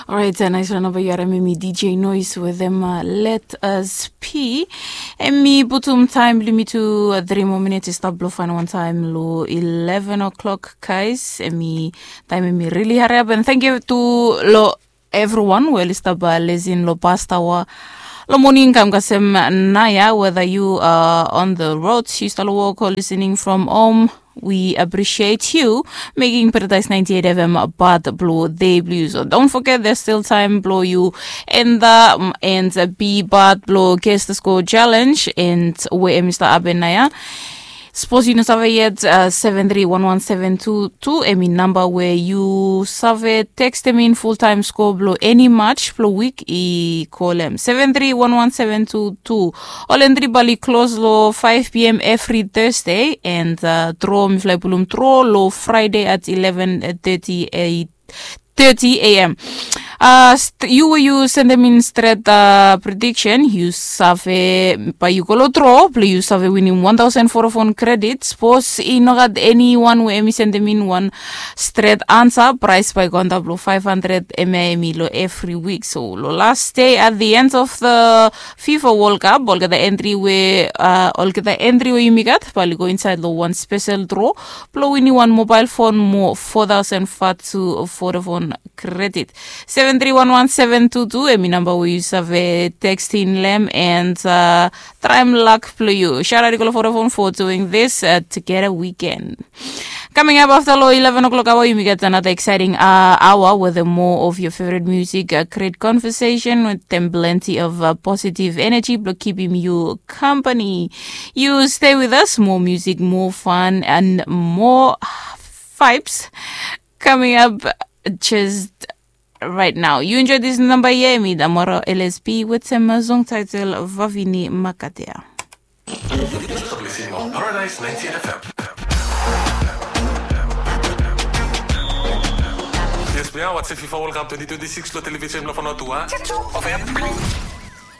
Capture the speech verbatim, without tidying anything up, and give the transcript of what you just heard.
Orait, nais ran naba yu harim em i D J Noise wetem Let Us Be. Em i putum taem blong yumi tu tri moa minits i stap blong faenem wan taem long eleven o'clock, guys. Em i taem em i rili hariap, and thank you tu long everyone we oli stap lisin long past aoa long moning kam kasem naoia, whether you are on the road, yu stap long wok o listening from home. We appreciate you making Paradise ninety-eight F M part blong dei blong yu. So don't forget there's still time blong yu and the and be part blong Guess the Score Challenge and we em i stap hapen naoia. Sapos yu no save yet, seven three one one seven two two em i namba we yu save tekstem in fultaem skoa blong eni match blong wik i kolem seven three one one seven two two. Ol entri bae oli klos long five p.m. evri Thursday and dro mifala i pulum dro long Friday at eleven thirty a.m. Yu we yu sendem in stret prediksen yu save bae yu go long dro blong yu save winim one thousand Vodafone kredit. Sapos i no gat eniwan we em i sendem in wan stret ansa, praes bae i go antap long five hundred, em ya em i long evri wik. So long las dei at the end of the FIFA World Cup, olgeta entri we olgeta entri we yumi gat bae oli go insaed long wan spesel dro blong winim wan mobael fon mo four thousand Fatu Vodafone kredit. Seven three one one seven two two em i namba we yu save teksting long hem and traem lak blong yu. Shout out i go long Vodafone for doing this together weekend. Coming up afta long eleven o'clock aoa yumi gat another exciting aoa wetem more of your favorite music, great conversation wetem plenty of positive energy blong kipim yu company. You stay with us, more music, more fun and more vibes coming up just right now. You enjoy this number here, mi Damoro L S P wetem song title Vavini Makatea. Paradise ninety-eight F M. Yes, we are watching FIFA World Cup twenty twenty-six lo television lo Vanuatu.